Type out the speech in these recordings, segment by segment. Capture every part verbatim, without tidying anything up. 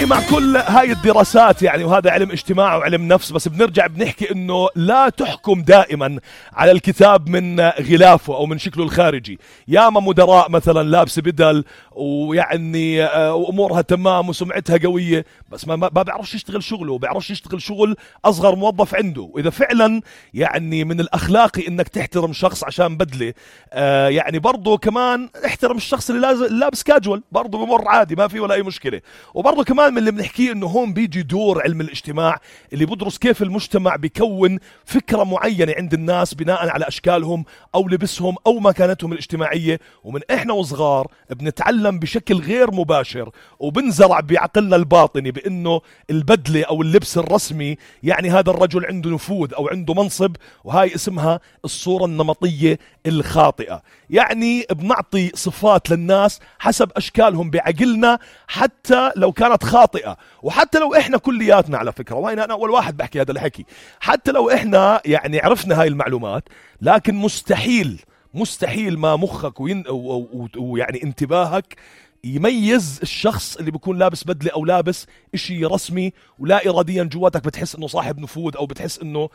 يعني مع كل هاي الدراسات يعني وهذا علم اجتماع وعلم نفس، بس بنرجع بنحكي انه لا تحكم دائما على الكتاب من غلافه او من شكله الخارجي. ياما مدراء مثلا لابسه بدل ويعني امورها تمام وسمعتها قويه، بس ما ما بيعرفش يشتغل شغله وبيعرفش يشتغل شغل اصغر موظف عنده. واذا فعلا يعني من الاخلاقي انك تحترم شخص عشان بدله، آه يعني برضه كمان احترم الشخص اللي لابس كاجوال، برضه بمر عادي ما في ولا اي مشكله. وبرضه كمان من اللي بنحكيه انه هون بيجي دور علم الاجتماع اللي بدرس كيف المجتمع بيكون فكره معينه عند الناس بناء على اشكالهم او لبسهم او مكانتهم الاجتماعيه. ومن احنا وصغار بنتعلم بشكل غير مباشر وبنزرع بعقلنا الباطني بانه البدله او اللبس الرسمي يعني هذا الرجل عنده نفوذ او عنده منصب، وهاي اسمها الصوره النمطيه الخاطئه. يعني بنعطي صفات للناس حسب اشكالهم بعقلنا حتى لو كانت خاطئه، وحتى لو احنا كلياتنا على فكره، وين انا اول واحد بحكي هذا الحكي، حتى لو احنا يعني عرفنا هاي المعلومات، لكن مستحيل مستحيل ما مخك وين ويعني انتباهك يميز الشخص اللي بيكون لابس بدلة أو لابس إشي رسمي ولا إراديا جواتك بتحس إنه صاحب نفوذ أو بتحس إنه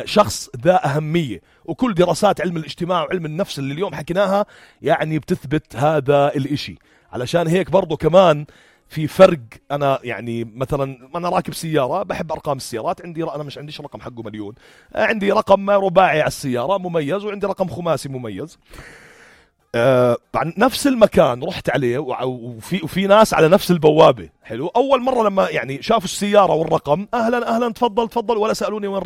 شخص ذا أهمية. وكل دراسات علم الاجتماع وعلم النفس اللي اليوم حكيناها يعني بتثبت هذا الإشي. علشان هيك برضو كمان في فرق. أنا يعني مثلا أنا راكب سيارة بحب أرقام السيارات، عندي أنا مش عنديش رقم حقه مليون، عندي رقم رباعي على السيارة مميز، وعندي رقم خماسي مميز. آه نفس المكان رحت عليه وفي وفي ناس على نفس البوابة. حلو. أول مرة لما يعني شافوا السيارة والرقم أهلا أهلا تفضل تفضل، ولا سألوني وين